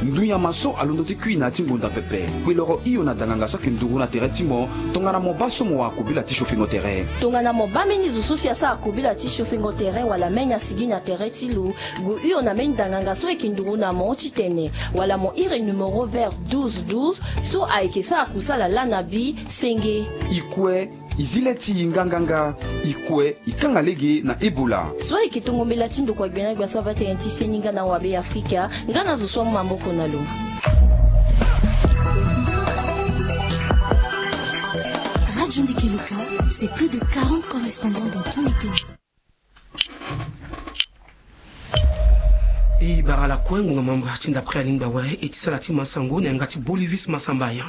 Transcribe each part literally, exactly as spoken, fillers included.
Ndu nyama so alondo ti kui na ya ti ngonda pepe. Kpe loro hio na danganga so ayeke nduru na tere ti mo. Tongana mo baa so mo wara kobela ti siofengo tere. Tongana mo baa mbeni zo so si asara kobela ti siofengo tere wala mbeni asigi na tere ti lo, gue hio na mbeni danganga so ayeke nduru na mo titene wala mo iri numero vert douze douze so ayeke sara kusala laa na bi senge. I kue, i zi le ti i nganganga. I kue, i kanga lege na Ebola. So ayeke tongo mbela ti ndokua gbia na gbia so aba tënë ti seni nga na wabe Afrika, nga na zo so amu maboko na lo. Radio Ndeke Luka, c'est plus de quarante correspondants dans tous les pays. E bara ala kue ngonga mamba ti ndapre alingba awe e ti sala ti masango na yanga ti Bolivis Masamba Yan.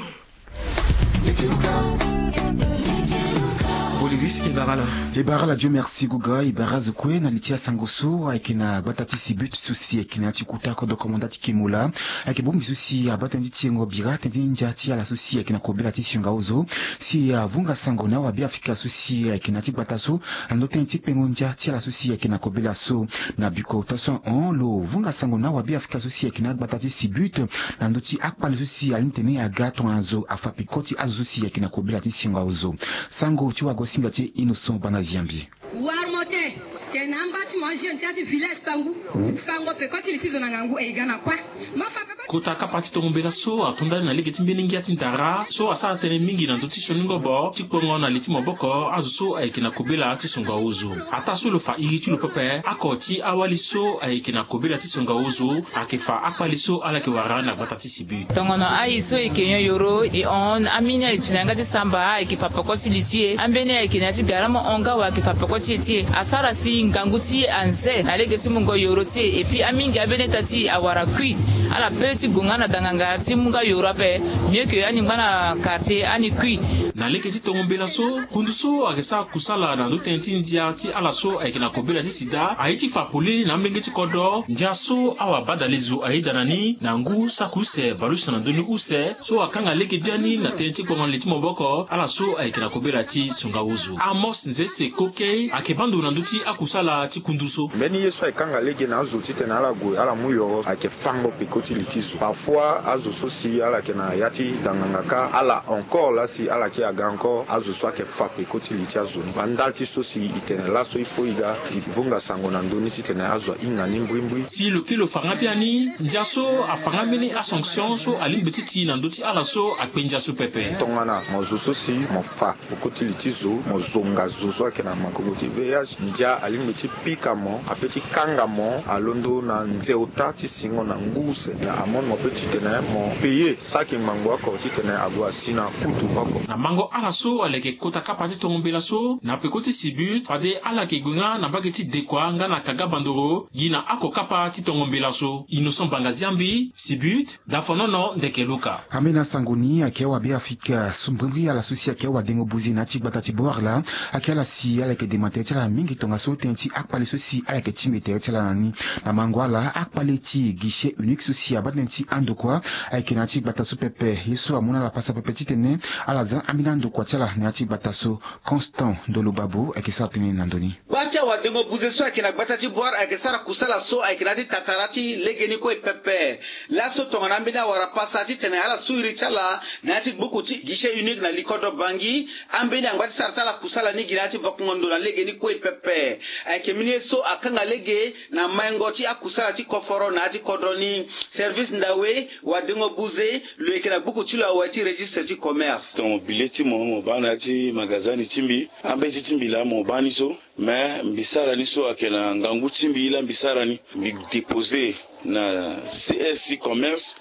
Bolivis, e bara ala. E bara ala, Dieu merci Guga. E bara azo kue na li ti asango so ayeke na gbata ti Sibut so si ayeke na ya ti kota kodro komanda ti Kemola. Ayeke bongbi so si abaa tënë ti tiengo bira tënë ti ndia ti ala so si ayeke na kobela ti sionga ozo. Si avunga sango na awabe Afrika so si ayeke na ya ti gbata so na ndö tënë ti kpengo ndia ti ala so si ayeke na kobela so. Na bikota so ahon lo vunga sango na awabe Afrika so si ayeke na agbata ti Sibut na ndö ti akpale so si alingbi tene aga tongana zo afa peko ti azo so si ayeke na kobela ti singa ozo. Sango ti wagosinga ti e Innocent Banga Ziambi. Wara mo tene na amba ti mo ajeune ti ya ti village Tangu, fango peko ti li ti zo na ngangu e ga na kua. Mo fa peko ti. Kota kapa ti tongo mbela so ato ndani na lege ti mbeni ngia ti ndara so asara tënë mingi na ndö ti sioni ngobo ti kpongo na li ti maboko azo so ayeke na kobela ti songo aozo. Ataa so lo fa iri ti lo pepe, oko ti awali so ayeke na kobela ti songo aozo ayeke fa akpali so ala yeke wara na gbata ti Sibut. Tongono aye so e yeke nyon yoro e hon ambeni aye ti na yanga ti samba ayeke fa peko ti li ti e. Ambeni ayeke na ya ti gara mo hon nga awe ayeke fa peko ti e ti e. Asara si ngangu ti e anze na lege ti mungo yoro ti e. Et puis amingi ambeni ita ti e awara kui. Ala pe ti gue nga na danganga ti mu nga yoro ape. Mieux que ani ngba na quartier ani kui. Na lege ti tongo mbela so, kundu so ayeke sara kusala na ndö tënë ti ndia ti ala so ayeke na kobela ti sida aye ti fa polele na amolenge ti kodro. Ndia so awabadalezo ayeda na ni na ngu saki use bale use na ndoni use so akanga lege biani na tënë ti kpongo na li ti maboko ala so ayeke na kobela ti songa ozo. Amos Nzese Kokei ayeke baa ndo na ndö ti akusala ti kundu so. Mbeni ye so ayeke kanga lege na azo titene ala gue ala mu yoro ayeke fango peko ti li ti zo. Parfois azo so si ala yeke na ya ti danganga kâ ala encore laa si ala yeke aga encore azo so ayeke fa peko ti li ti azo ni. Bandali ti so si e tene laso il faut e ga e vunga sango na ndö ni titene azo ahinga ni mbrimbri. Si lo kiri lo fa nga biani, ndia so afa nga mbeni asanction so alingbi ti ti na ndö ti ala so akpe ndia so pepe. Tongana mo zo so si mo fa peko ti li ti zo, mo zonga zo so ayeke na magogo ti V I H, ndia alingbi ti pika mo, ape ti kanga mo, alondo na nze ota ti singo na ngu use, na amende mo pe titene mo payer saki ngbangbo oko titene ague asi na kutu oko. Na mango ala so aleke kota kapa ti tongo mbela so na peko ti Sibut, fade ala yeke gue nga na mbage ti Dekua nga na Kaga Bandoro, gi na oko kapa ti tongo mbela so. Innocent Banga Ziambi, Sibut, Dafonono Ndeke Luka. Ambeni asango ni ayeke awabe Afrika so mbrimbri ala so si ayeke awadengo buze na ya ti gbata ti Boarla. Ayeke ala si ala yeke dema tere ti ala mingi tongaso tënë ti akpale so si ala yeke tingbi tere ti ala na ni. Na mango ala akpale ti guichet unique so si abaa tënë ti andokua ayeke na ya ti gbata so pepe. Ye so amu na ala pasa pepe titene ala za ambeni andokua ti ala na ya ti gbata so. Constant Ndolo Babo ayeke sara tënë na ndö ni. Kpa ti awadengo buze so ayeke na gbata ti Boarla ayeke sara kusala so ayeke na ya ti tatara ti legeni kue pepe. Laso tongana ambeni awara pasa titene ala su iri ti ala na ya ti gbuku ti guichet unique na li kodro Bangui. Ambeni angba ti sara ti ala kusala ni gi na ya ti vokongo ndo na legeni kue pepe. Ayeke mbeni ye so akanga lege na maingo ti akusala ti koforo na ya ti kodro ni. Service ndawe wadengo buze lo yeke na gbuku ti lo awe ti registre ti commerce. Tongo bile ti mo mo baa na ya ti magasin ni ti mbi. Ambeni ti ti mbi laa mo baa ni so. Mais mbi sara ni so ayeke na ngangu ti mbi laa mbi sara ni. Mbi dépose na C S ti commerce.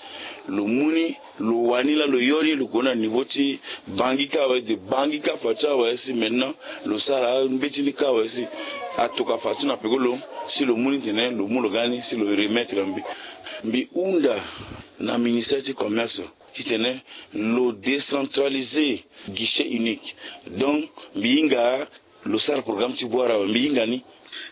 Lo mu ni, lo wani laa lo yo ni, lo gue na niveau ti Bangui kâ awe, de Bangui kâ fa ti awe si maintenant lo sara ambeti ni kâ awe si atokua fa ti na peko lo, si lo mu ni tene lo mu lo ga ni si lo remettre na mbi. Mbi hunda na ministère ti commerce titene lo décentraliser guichet unique. Donc mbi hinga lo sara programme ti Boarla awe, mbi hinga ni.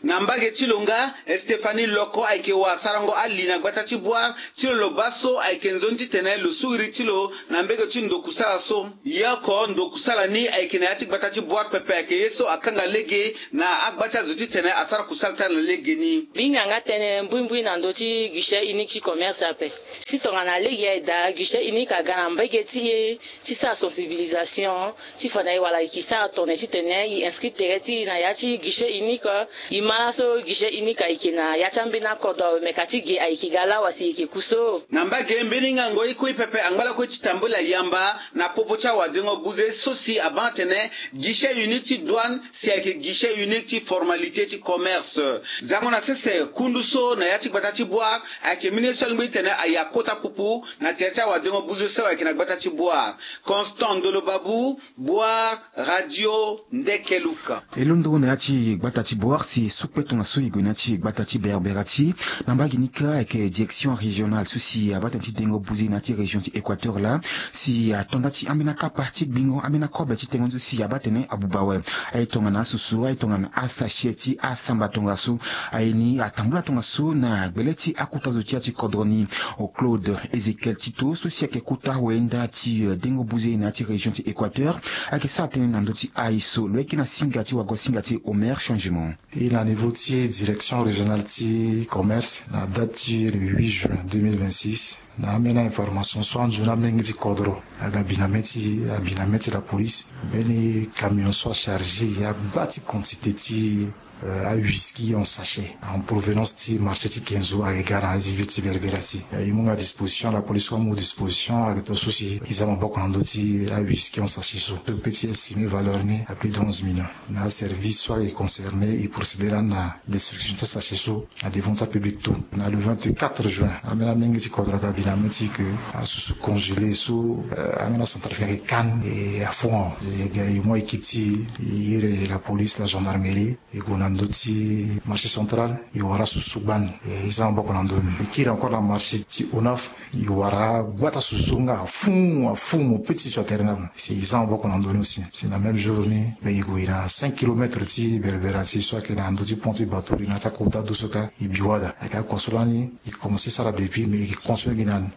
Na mbage ti lo nga, Stéphanie Loko ayeke wara sarango ali na gbata ti Bouar ti lo. Lo baa so ayeke nzoni titene lo sukiri ti lo na mbege ti ndo kusala so. Ye oko ndo kusala ni ayeke na ya ti gbata ti Bouar pepe, ayeke ye so akanga lege na agba ti azo titene asara kusala ti ala na legeni. Mbi hinga nga tënë mbuimbui na ndö ti guichet unique ti commerce ape. Si tongana lege aye daa, guichet unique aga na mbage ti e ti sara sensibilisation, ti fa na e wala e ke sara tongana titene e inscrit tere ti e na ya ti guichet unique. E ma laso guichet unique ayeke na ya ti ambeni akodro awe, me ka ti ge ayeke ga lawa si e yeke ku so. Na mbage mbeni ngango e kue pepe angba lakue ti tambula yamba na popo ti awadengo buze so si abaa atene guichet unique ti douane si ayeke guichet unique ti formalité ti commerce. Zango na sese kundu so na ya ti gbata ti Bouar ayeke mbeni ye so alingbi titene aya kota pupu na tere ti awadengo buze so ayeke na gbata ti Bouar. Constant Ndolo Babou, Bouar, Radio Ndeke Luka. E londo na ya ti gbata ti Bouar si e sukpe tongaso e gue na ya ti gbata ti Berbera ti na mbage ni kâ ayeke direction régionale so si abaa tënë ti dengo buze na ya ti région ti Équateur laa, si ato nda ti ambeni akapa ti gbingo ambeni akobe ti tengo ni so si abaa tënë abuba awe. Aye tongana asusu, aye tongana asachet ti asamba tongaso. Aye ni atambula tongaso na gbele ti akuta zo ti ya ti kodro ni. Claude Ézéchiel Tito so si ayeke kota wenda ti, eh, dengo buze na ya ti région ti Équateur, ayeke sara tënë na ndö ti aye so. Lo yeke na singa ti wago singa ti Omer Changement. E na niveau ti direction régionale ti commerce, na date ti le huit juin deux mille vingt-six, na ambeni information so anzoni amolenge ti kodro aga bi na mê ti, abi na mê ti la police mbeni camion so achargé ya gba ti quantité ti, euh, awhisky en sachet en provenance ti marché ti Kenzo ayeke ga na ya ti ville ti Berbera ti. Euh, e mu nga disposition, la police so amu disposition ayeke to so si e za maboko na ndö ti awhisky en sachet so. So e peut ti estimer valeur ni à plus de onze millions. Na aservice so ayeke concerné e procéder lani na destruction ti asachet so na devant ti apublic tout. Na le vingt-quatre juin, ambeni amolenge ti kodro aga bi na mê ti e ke asusu congelé so, euh, ambeni acentrafricain ayeke kani e afu. E ga e mu équipe ti e, e iri la police, la gendarmerie, e gue na ndö ti marché central, e wara asusu gbani. E za maboko na ndö ni. E kiri encore na marché ti Onaf, e wara gbata asusu nga afu, afu mo petit sur terrain na. Si e za maboko na ndö ni aussi. Si na même jour ni, be e gue na cinq kilomètres ti Berbera ti so ayeke na ndö ti pont ti bateau, e na ti akota do so kâ e bi wada. Ayeke akua so lani e commencé sara depuis, mais e continué gi na ni.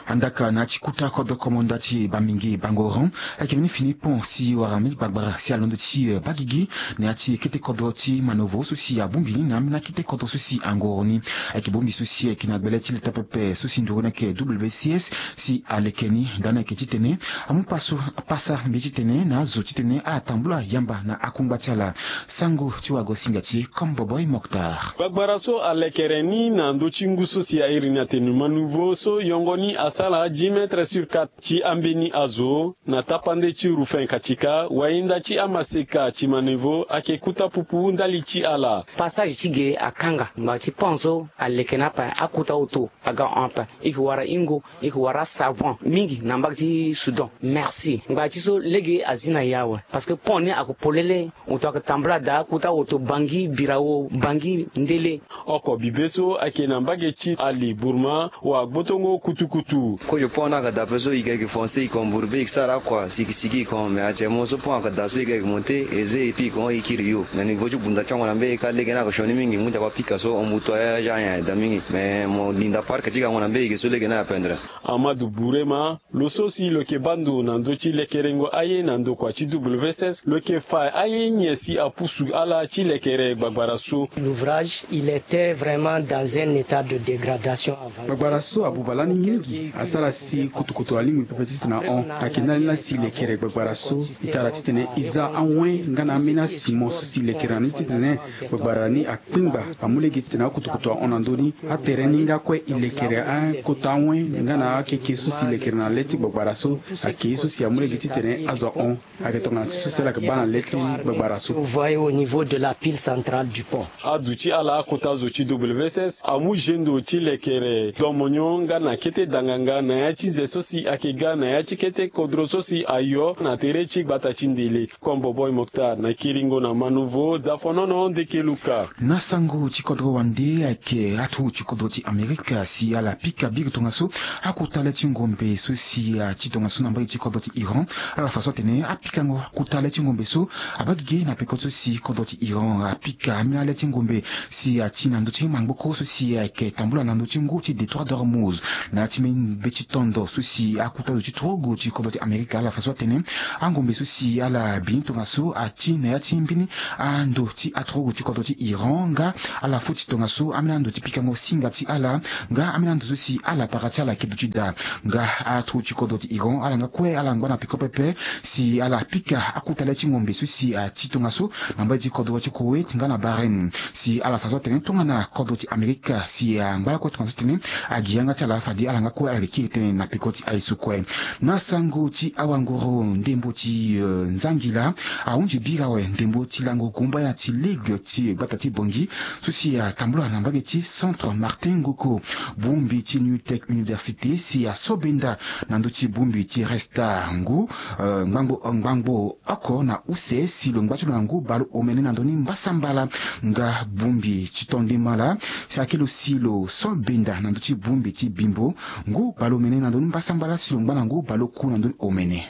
Andaka na ya ti kota kodro, commandant ti Bamingui Bangoran, ayeke mbeni fini pont si wara mbeni gbagbara si alondo ti, eh, baa gigi na ya ti kete kodro ti Manovo so si abongbi ni na ambeni akete kodro so si angoro ni. Ayeke bongbi so si ayeke na gbele ti leta pepe so si nduru ni ayeke W C S si aleke ni. Ndani ayeke titene amu paso, pasa mbi titene na azo titene ala tambula yamba na akungba ti ala. Sango ti wago singa ti e comme Boboy Mokhtar. Gbagbara so alekere ni na ndö ti ngu so si a iri ni atene Manovo so yongo ni asara dix mètres sur quatre ti ambeni azo na tapande ti Ruffin Katika, wayinda ti amaseka ti Manovo, ayeke kota pupu ndali ti ala. Passage ti ge akanga, ngbanga ti pont so aleke ni ape, akota auto aga hon ape. E yeke wara ingo, e yeke wara savon mingi na mbage ti Soudan. Merci. Ngbanga ti so lege azi na e awe. Parce que pont ni ayeke polele. Auto ayeke tambula daa, kota auto Bangui, Birao, Bangui, Ndele. Oko bibe so ayeke na mbage ti Ali Bourma wa gbotongo kutukutu. Kozo pont ni ayeke daa ape so, e yeke foncé, e yeke embourbé, e yeke sara akua sikisiki, e yeke hon. Mais actuellement so pont ayeke daa so, e yeke monté, e zé, et puis e yeke hon, e kiri yo. Na niveau ti gbunda ti ango na mbage kâ, lege ni ayeke sioni mingi, ngu ti akua pika so embouteillage, ayen ayeke daa mingi. Mais mo linda parc ti gango na mbage so lege ni apendre. Amadou Bourema, lo so si lo yeke baa ndo na ndö ti lekerengo aye na ndokua ti W S S, lo yeke fa aye nyen si apusu ala ti lekere gbagbara so. L'ouvrage, il était vraiment dans un état de dégradation avancée. Gbagbara so abuba lani mingi, asara si kutukutu alingbi pepe titene ahon. Ayeke ndali ni laa si lekere gbagbara so, e tara titene e za awen nga na ambeni asimo so si lekere na ni titene gbagbara ni akpengba, amu lege titene akutukutu ahon na ndö ni. Atere ni nga kue e lekere akota awen nga na akeke so si lekere na le ti gbagbara so, ayeke ye so si amu lege titene azo ahon. Ayeke tongana ti so si ala yeke baa na le ti gbagbara so. Vous voyez au niveau de la pile centrale du pont. Aduti ala akota zo ti W S S amu zendo ti lekere domonyo nga na kete danganga na ya ti nze so si ayeke ga na ya ti kete kodro so si ayo na tere ti gbata ti Ndele. Kombo Boy Mokhtar na kiringo na Manouveau, Dafonono Ndekeluka. Na sango ti kodro wande ayeke atu ti kodro ti Amerika si ala pika biri tongaso akota le ti ngombe so si ati tongaso na mbage ti kodro ti Iran. Ala fa so atene apikango akota le ti ngombe so abaa gigi na peko so si kodro ti Iran api Ka ambeni ala ti ngombe si ati na ndö ti mangboko so si ayeke tambula na ndö ti ngu ti Détroit d'Ormuz. Na ya ti mbeni be ti tondo so si akuta zo ti turugu ti kodro ti Amerika ala fa so atene angombe so si ala bi ni tongaso ati na ya ti mbeni ando ti aturugu ti kodro ti Iran nga ala foti tongaso ambeni ando ti pikango singa ti ala nga ambeni ando so si ala para ti ala ayeke duti daa. Nga aturugu ti kodro ti Iran ala nga kue ala ngba na peko pepe si ala pika akuta le ti ngombe so si ati tongaso na mbage ti kodro ti Koweït nga na Bahreïn. Si ala fa so atene tongana kodro ti Amerika si angba lakue tongana so atene agi yanga ti ala fade ala nga kue ala yeke kiri tënë na peko ti aye so kue. Na sango ti awanguru ndembo ti eh, nzangila ahunzi bira awe ndembo ti lango gumbaya ti ligue ti gbata ti Bangui so si atambula na mbage ti Centre Martin Ngoko. Bongbi ti New Tech Université si asobenda na ndö ti bongbi ti resta ngu eh, ngbangbo ngbangbo oko na use si lo ngba ti lo na ngu baleomene na ndö ni mbasambala. Nga bongbi ti tondimala si ayeke lo si lo so benda na ndö ti bongbi ti bimbo ngu baleomene na ndö ni mbasambala si lo ngba na ngu baleoku na ndö ni omene.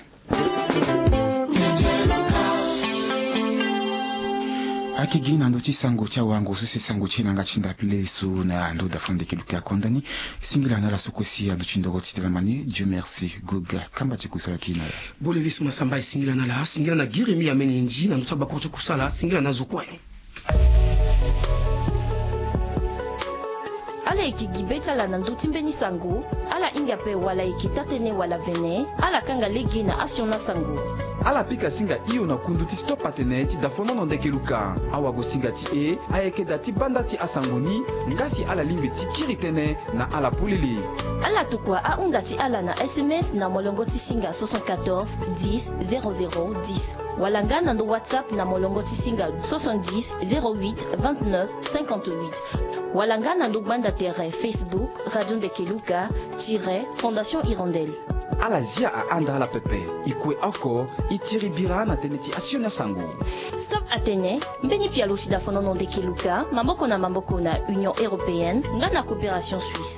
Ayeke gi na ndö ti sango ti awango so si sango ti e na yanga ti ndapele so na ndö dafa ndeke luka konda ni. Singila na ala so kue si aduti ndoro ti tene ma ni. Dieu merci. Goga kamba ti kusala ti e na ala. Bolevis masamba e singila na ala, singila na girimi amene ndi na ndö ti abakuru ti kusala, singila na zo kue. Ala yeke gi be ti ala na ndö ti mbeni sango. Ala hinga ape wala e yeke taa-tënë wala vene, ala kanga lege na asioni asango. Ala pika singa hio na kundu ti stop atene ti dafonono ndeke luka. Awagosinga ti e ayeke daa ti banda ti asango ni. Nga si ala lingbi ti kiri tënë na ala polele. Ala tokua ahunda ti ala na S M S na molongo ti singa soixante-quatorze dix zéro zéro dix, wala nga na ndö WhatsApp na molongo ti singa soixante-dix zéro huit vingt-neuf cinquante-huit, wala nga na ndö gbanda tere Facebook Radio Ndeke Luka tiret Fondation Hirondelle. Ala zia ahanda ala pepe. E kue oko e tiri bira na tënë ti asioni asango. Stop atene mbeni pialo ti dafonono ndeke luka maboko na maboko na Union Européenne nga na Coopération Suisse.